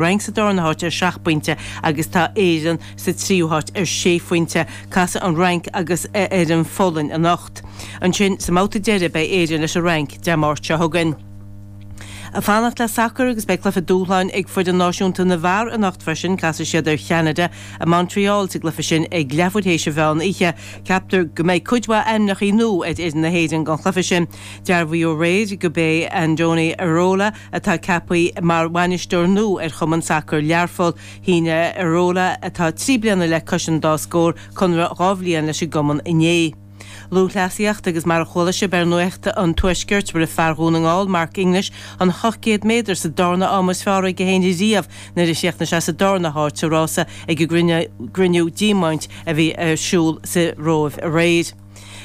Fhrainc sa darna háit ar sheacht bpointe agus tá Éireann sa tríú háit ar sé phointe. Casfaidh an Fhrainc agus ar an Pholainn anocht. Ansin, sa mbabhta deiridh, beidh Éirinn leis an Fhrainc Dé Máirt seo chugainn. Ag fanacht le sacar agus beidh cluiche dúshláin ag foireann náisiúnta na bhfear anocht freisin. Casfaidh siad ar Cheanada i Montreal sa gcluiche sin ag leathuair théis an mheán oíche. Ceaptar go mbeidh cuid mhaith ainmneachaí nua ar fhoireann na hÉireann don chluiche sin. Dearbhaíodh aréir gurb é Andoni Iraola atá ceaptha mar bhainisteoir nua ar chumann sacair Learpholl. Shínigh Iraola, atá 3 bliana le cois an dá scór, conradh 2 bhliain leis an gcumann inné. Lúthchleasaíocht agus mar a chuala sibh ar Nuacht an Tuaiscirt, rith fear Dhún na nGall, Mark English, an 800 méadar sa darna am is fearr aige féin riamh nuair a chríochnaigh sé sa darna háit sa rása ag an gcruinniú diamaint a bhí ar siúl sa Róimh aréir.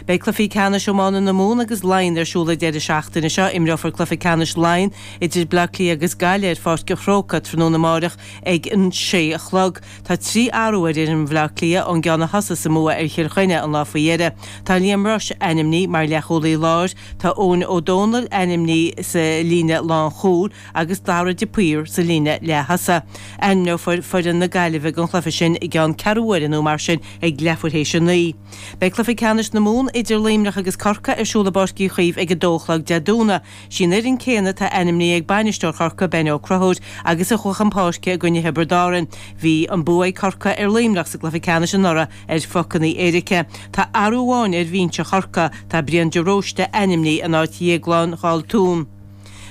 Beidh cluichí ceannais iomána na Mumhan agus Laighean ar siúl an deireadh seachtaine seo. Imreofar cluiche ceannais Laighean idir Bleá Cliath agus Gaillimh ar Pháirc an Chrócaigh tráthnóna amáireach ag an sé a chlog. Tá 3 athrú ar fhoireann Bhaile Átha Cliath ón gceann a thosaigh sa mbua ar Chill Chainnigh an lá faoi dheireadh. Tá Liam Rushe ainmnithe mar leathchúlaí láir, tá Eoin Ó Dónaill ainmnithe sa líne lánchúil agus Dara de Paor sa líne leath-thosaigh. Ainmneofar foireann na Gaillimhe don chluiche sin i gceann ceathrú uaire nó mar sin ag leathuair théis a naoi. Beidh cluiche ceannais na Mumhan idir Luimneach agus Corcaigh ar siúl i bPáirc Uí Chaoimh ag 2 a chlog Dé Domhnaigh. Sí an fhoireann céanna atá ainmnithe ag bainisteoir Chorcaí, Ben Ó Conchúir, agus a chuaigh chun páirce i gcoinne Thiobraid Árann. Bhí an bua ag Corcaigh ar Luimneach sa gcluiche ceannais anuraidh ar phocanna éirice. Tá athrú amháin ar bhinse Chorcaí, tá Brian de Róiste ainmnithe in áit Dhéaglán Dhaltún.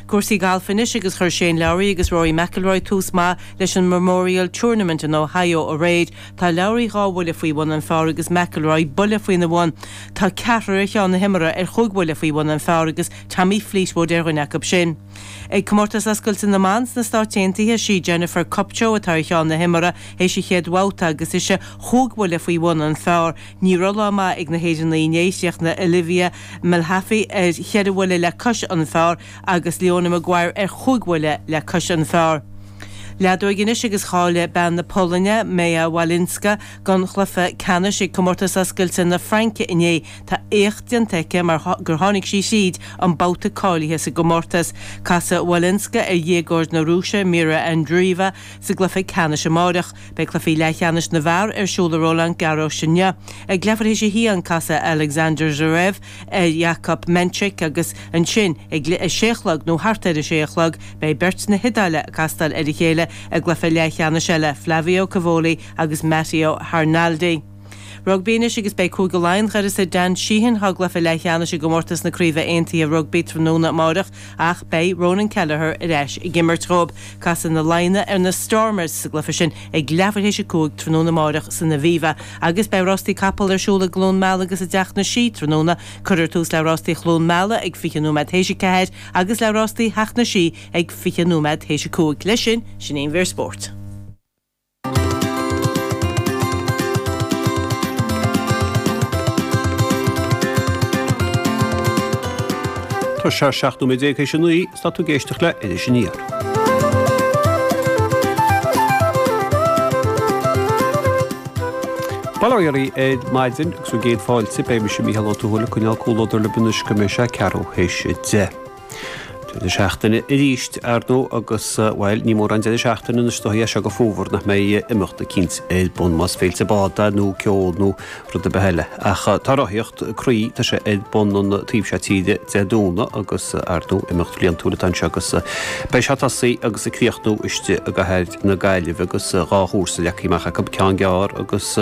Cúrsaí gailf anois agus chuir Shane Lowry agus Rory McIlroy tús maith leis an Memorial Tournament in Ohio aréir. Tá Lowry 2 bhuille faoi bhun an phar agus McIlroy buille faoina bhun. Tá ceathrar ar cheann na himeartha ar chúig bhuille faoi bhun an phar agus Tommy Fleetwood ar dhuine acu sin. Ag Comórtas Oscailte na mBan sna Stáit Aontaithe, sí Jennifer Kupcho atá ar cheann na himeartha théis an chéad bhabhta agus ise chúig bhuille faoi bhun an phar. Ní raibh lá maith ag na hÉireannaigh inné, chríochnaigh Olivia Mehaffey ar cheithre bhuille le cois an phar agus Leona Maguire ar chúig bhuille le cois an phar. Leadóig anois agus cháiligh bean na Polainne, Maja Walinska, don chluiche ceannais ag Comórtas Oscailte na Fraince inné. Tá éacht déanta aici mar gur tháinig sí thríd an babhta cáilithe sa gcomórtas. Casfaidh Walinska ar dhéagóir na Rúise, Mirra Andreeva, sa gcluiche ceannais amáireach. Beidh cluichí leathcheannais na bhfear ar siúl i Roland Garros inniu. Ag leathuair théis a haon, casfaidh Alexander Zverev ar Jakub Mensik agus ansin ag a sé a chlog nó thart ar a sé a chlog beidh beirt na hIodáile ag castáil ar a chéile i gcluiche leathcheannais eile, Flavio Cobolli agus Matteo Arnaldi. Rugbaí anois agus beidh Cúige Laighean d'uireasa Dan Sheehan dá gcluiche leathcheannais i gcomórtas na Craoibhe Aontaithe Rugbaí tráthnóna amáireach ach beidh Ronan Kelleher ar ais ag imirt dhóibh. Casfaidh na Laighnigh ar na Stormers sa gcluiche sin ag leathuair théis a 5 tráthnóna amáireach san Aviva. Agus beidh rástaí capall ar siúl i gCluain Meala agus i dTeach na Sí tráthnóna. Cuirfear tús le rástaí Chluain Meala ag 20 nóiméad théis a 4 agus le rástaí Theach na Sí ag 20 nóiméad théis a 5. Leis sin, sin í an mhír spóirt. Tá sé 17 nóiméad théis a 9 is tá tú ag éisteacht le Iris Aniar. Bail ó Dhia oraibh ar maidin agus bhur gcéad fáilte, beidh mise Mícheál Ó Tuathail ag coinneáil comhluadar libh anois go mbeidh sé ceathrú théis 10. Deireadh seachtaine arís, ar ndóigh, agus, bhuel, ní mórán deireadh seachtaine anois is dóichí as seo go fómhar nach mbeidh imeacht eicínt ar bun, más féilte bád é nó ceol nó rud ar bith eile. Ach tá rothaíocht croí, tá sé ar bun an taobh seo tíre Dé Domhnaigh agus, ar ndóigh, imeacht bhliantúil atá anseo agus beidh sé ag tosaí agus ag críochnú istigh i gcathair na Gaillimhe agus dhá chúrsa leagtha amach acu, ceann gearr agus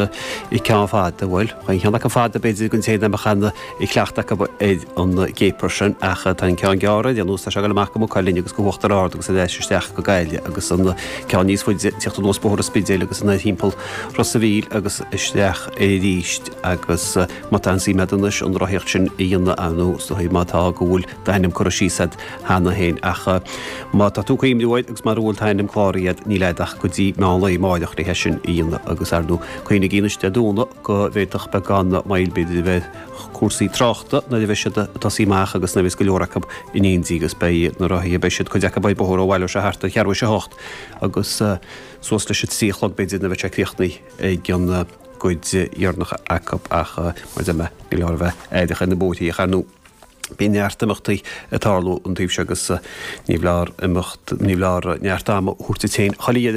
ceann fada. Bhuel, an ceann acu fada b'fhéidir don té nach mbeadh ana chleachtadh acu ar an gcéapar sin ach tá an ceann gearr ar aon nós, tá sé ag dul amach go Maigh Cuilinn agus go hUachtar Ard agus ar ais isteach go Gaillimh agus an ceann níos faide ag tíocht anuas Bóthar an Spidéil agus anoir thimpeall Ros a' Mhíl agus isteach arís agus má tá an suim agat anois an rothaíocht sin a dhéanamh ar ndóigh is dóigh má tá go bhfuil d'ainm curtha síos agat cheana féin ach má tá tú ag cuimhniú air agus mara bhfuil t'ainm cláraithe agat níl agat ach go dtí meán lae amáireach le é sin a dhéanamh agus ar ndóigh cuimhnigí anois Dé Domhnaigh go bhféadfadh beagán moill b'fhéidir a bheith ar chúrsaí tráchta nuair a bheidh siad ag tosaí amach agus nuair a bheas go leor acu in éindí agus beidh na rothaithe, beidh siad, cuid acu ar bóthar ó bhaileoidh sé thart ar cheathrú théis a hocht agus suas leis an trí a chlog b'fhéidir nuair a bheidh sé críochnaithe ag an gcuid dheireanach acu ach mar a deir mé, ní leor a bheith aireach ar na bóithre ach ar ndóigh. Bíonn neart imeachtaí ag tarlú an taobh seo agus ní foláir imeacht, ní foláir neart ama a thabhairt duit féin chuile dheireadh.